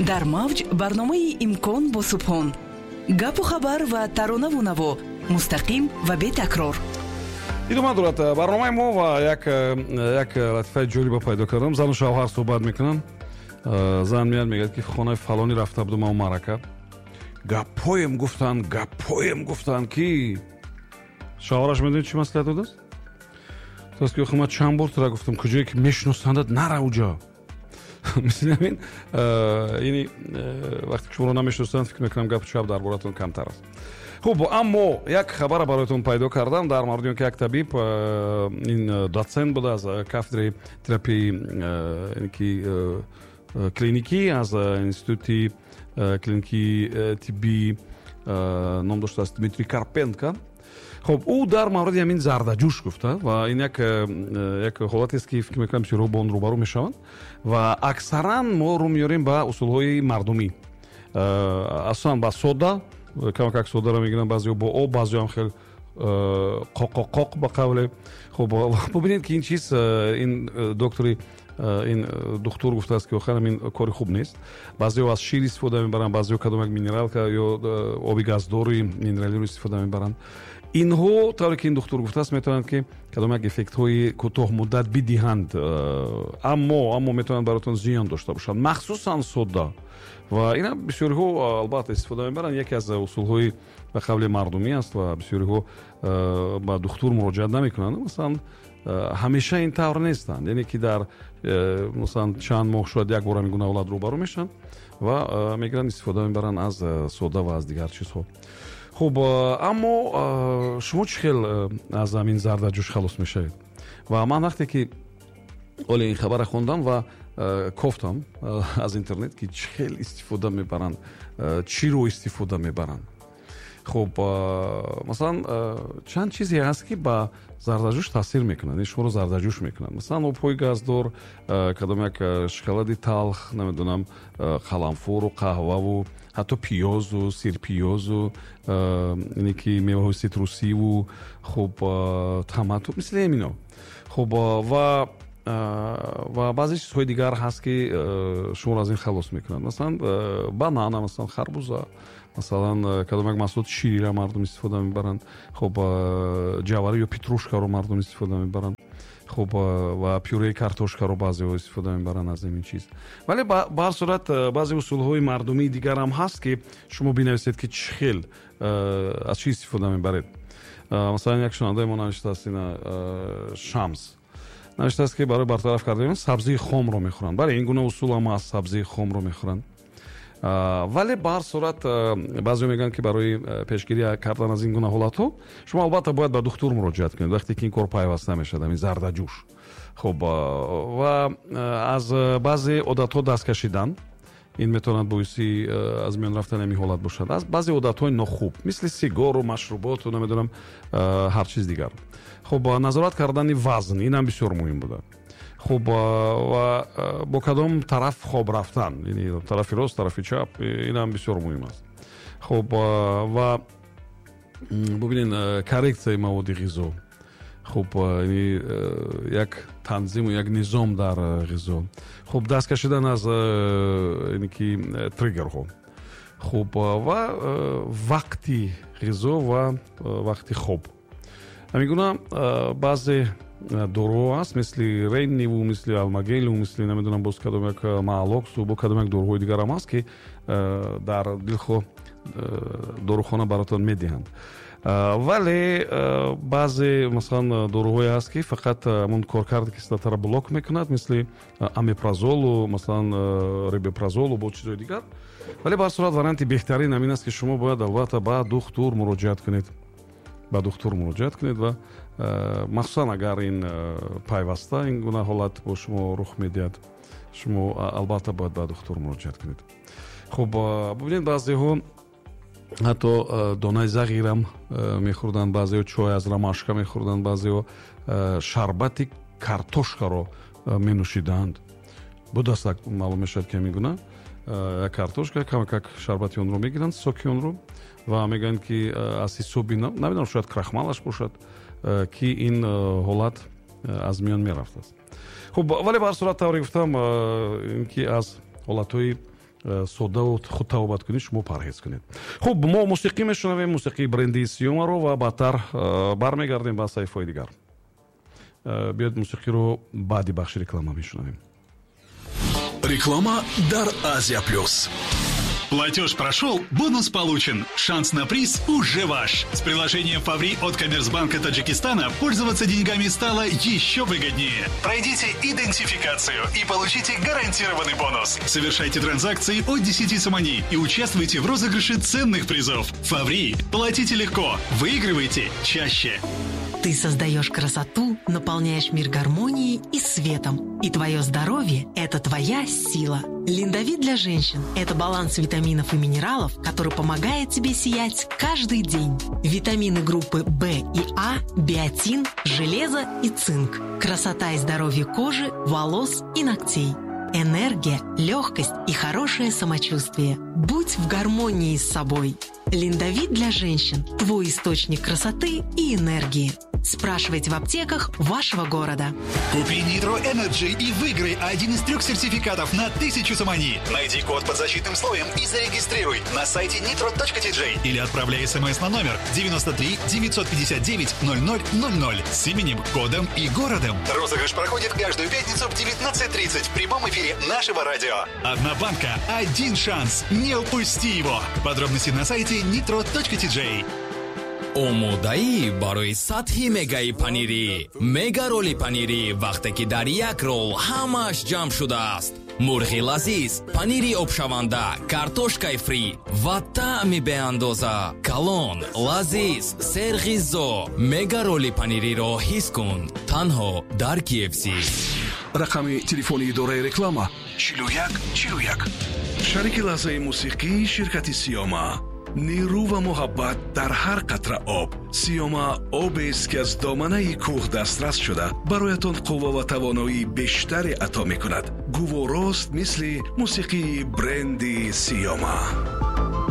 Дар мавҷ барномаи «Имкон» бо Субҳон. Гапу хабар ва таронаву наво, мустақим ва бетакрор. Идома дорад барномаи мо ва як латифаи ҷолиба пайдо кардам. Зану шавҳар суҳбат мекунанд. Зан меяд, мегӯяд, ки хонаи фалонӣ рафта будум, ав марака гапҳоем гуфтанд, гапҳоем гуфтанд, ки шавҳараш медонед, чӣ маслиҳат додааст? Гуфтааст, ки охи, ман чанд бор тура гуфтам, куҷое ки мешиносандат, нара уҷо. Мисли ҳамин, яъне вақте ки шуморо намешиносанд, фикр мекунам, гапу чап дар боратон камтар аст. Хуб, аммо як хабара бароятон пайдо кардам дар мавриди он ки як табиб, ин доцент буда аз кафедраи терапияи ки клиникӣ аз институти клиникии тиббӣ, ном доштааст Дмитрий Карпенко. Хуб, ӯ дар мавриди ҳамин зардаҷӯш гуфта ва ин як ҳолатест, ки фикр мекунам, бисёрҳо бо он рӯбарӯ мешаванд ва аксаран мо рӯ меорем ба усулҳои мардумӣ, асосан ба сода, камакак содаро мегиранд баъзеҳо бо об, баъзеҳо ҳам хел қоқоқоқ ба қавле. Хуб, бубинед, ки ин чиз, ин доктори, ин духтур гуфтааст, ки охир ин кори хуб нест. Баъзеҳо аз шир истифода мебаранд, баъзеҳо кадом як минералка ё оби газдори минералиро истифода мебаранд. Инҳо, тавре ки ин духтур гуфтааст, метавонанд, ки кадом як эффектҳои кӯтоҳмуддат бидиҳанд, аммо метавонанд бароятон зиён дошта бошанд, махсусан сода. Ва ина бисёриҳо албатта истифода мебаранд, яке аз усулҳои ба қавли мардумӣ аст ва бисёриҳо ба духтур муроҷиат намекунанд. Масалан, ҳамеша ин тавр нестанд, яъне ки дар масалан чанд моҳ шояд як бор ҳамин гуна ҳолат рӯбарӯ мешаванд ва мегиранд, истифода мебаранд аз сода ва аз дигар чизҳо. Хуб, аммо шумо чӣ хел аз ҳамин зардаҷӯш халос мешавед? Ва ман вақте ки оле ин хабара хондам ва кофтам аз интернет, ки чӣ хел истифода мебаранд, чиро истифода мебаранд. Хуб, масалан, чанд чизе ҳаст, ки ба зардаҷӯш таъсир мекунанд, ин шуморо зардаҷӯш мекунанд. Масалан, обҳои газдор, кадом як шоколади талх, намедонам, қаламфуру қаҳваву ҳатто пиёзу сирпиёзу, ине ки меваҳои ситрусиву, хуб, томату, мисли ҳамино. Хуб, ва баъзе чизҳои дигар ҳаст, ки шуморо аз ин халос мекунанд. Масалан, банана, масалан, харбуза, масалан, кадом як маҳсулоти шириро мардум истифода мебаранд. Хуб, ҷавара ё петрушкаро мардум истифода мебаранд. Хуб, ва пюреи картошкаро баъзеҳо истифода мебаранд аз ҳамин чиз. Вале ба ҳар сурат баъзе усулҳои мардумии дигарам ҳаст, ки шумо бинависед, ки чӣ хел, аз чӣ истифода мебаред. Масалан, як шунавандаи мо навиштааст, ина Шамс навиштааст, ки барои бартараф кардани сабзии хомро мехӯранд. Бале, ин гуна усул ҳам аст, сабзии хомро мехӯранд. Вале ба ҳар сурат баъзеҳо мегӯянд, ки барои пешгирӣ кардан аз ин гуна ҳолатҳо шумо албатта бояд ба духтур муроҷиат кунед, вақте ки ин кор пайваста мешавад, ҳамин зардаҷӯш. Хуб, ва аз баъзе одатҳо даст кашидан, ин метавонад боиси аз миён рафтани ҳамин ҳолат бошад, аз баъзе одатҳои нохуб, мисли сигару машруботу, намедонам, ҳар чиз дигар. Хуб, назорат кардани вазн, инам бисёр муҳим буда. Хуб, ва бо кадом тараф хоб рафтан, яъне тарафи рост, тарафи чап, инам бисёр муҳим аст. Хуб, ва бубинед, коррексияи маводи ғизо. Хуб, яъне як танзиму як низом дар ғизо. Хуб, даст кашидан аз яъне ки триггерҳо. Хуб, ва вақти ғизо ва вақти хоб. Ҳамин гуна баъзе доруҳо ҳаст, мисли ренниву, мисли алмагелу, мисли, намедонам, боз кадом як маалоксу, бо кадом як доруҳои дигарам ҳаст, ки дар дилхоҳ дорухона баротон медиҳанд. Вале баъзе, масалан, доруҳое ҳаст, ки фақат ҳамон коркарди кислотаро блок мекунад, мисли омепразолу, масалан, рабепразолу, бо чизҳои дигар. Вале ба ҳар сурат варианти беҳтарин ҳамин аст, ки шумо бояд албатта ба духтур муроҷиат кунед, ба духтур муроҷиат кунед ва махсусан агар ин пайваста ин гуна ҳолат бо шумо рух медиҳад, шумо албатта бояд ба духтур муроҷиат кунед. Хуб, бубинед, баъзеҳо ҳатто донаи зағирам мехӯрданд, баъзеҳо чой аз ромашка мехӯрданд, баъзеҳо шарбати картошкаро менӯшиданд. Будаст, маълум мешавад, ки ҳамин гуна як картошка, камакак шарбати онро мегиранд, соки онро, ва мегӯянд, ки аз ҳисоби, намедонам, шояд крахмалаш бошад, ки ин ҳолат аз миён мерафтааст. Хуб, вале ба ҳар сурат, тавре гуфтам, ин ки аз ҳолатҳои Соддаву худтавобаткунӣ шумо парҳез кунед. Хуб, мо мусиқӣ мешунавем, мусиқии бренди Сиёмаро, ва баъдтар бармегардем ба саҳифаҳои дигар. Биёед, мусиқиро баъди бахши реклама мешунавем. Реклама дар Азия Плюс. Платеж прошел, бонус получен. Шанс на приз уже ваш. С приложением «Фаври» от Коммерцбанка Таджикистана пользоваться деньгами стало еще выгоднее. Пройдите идентификацию и получите гарантированный бонус. Совершайте транзакции от 10 сомони и участвуйте в розыгрыше ценных призов. «Фаври». Платите легко. Выигрывайте чаще. Ты создаешь красоту, наполняешь мир гармонией и светом. И твое здоровье – это твоя сила. Линдовит для женщин – это баланс витаминов и минералов, который помогает тебе сиять каждый день. Витамины группы В и А, биотин, железо и цинк. Красота и здоровье кожи, волос и ногтей. Энергия, легкость и хорошее самочувствие. Будь в гармонии с собой. Линдовит для женщин – твой источник красоты и энергии. Спрашивайте в аптеках вашего города. Купи Nitro Energy и выиграй один из трех сертификатов на 1000 сомони. Найди код под защитным слоем и зарегистрируй на сайте nitro.tj или отправляй смс на номер 93 959 0000 с именем, кодом и городом. Розыгрыш проходит каждую пятницу в 19:30 в прямом эфире нашего радио. Одна банка, один шанс. Не упусти его. Подробности на сайте nitro.tj. Омодаӣ барои сатҳи мегаи панирӣ, мега роли панирӣ, вақте ки дар як рол ҳамааш ҷамъ шудааст: мурғи лазиз, панири обшаванда, картошкаи фри ва таъми беандоза. Калон, лазиз, серғизо. Мега роли панириро ҳис кун танҳо дар KFC. Рақами телефони идораи реклама 41 41. Шарики лаҳзаи мусиқӣ ширкати Сиёма. Нерӯ ва муҳаббат дар ҳар қатра об. Сиёма обест, ки аз доманаи кӯҳ дастрас шуда, бароятон қувва ва тавоноии бештаре ато мекунад. Гуворост, мисли мусиқии бренди Сиёма.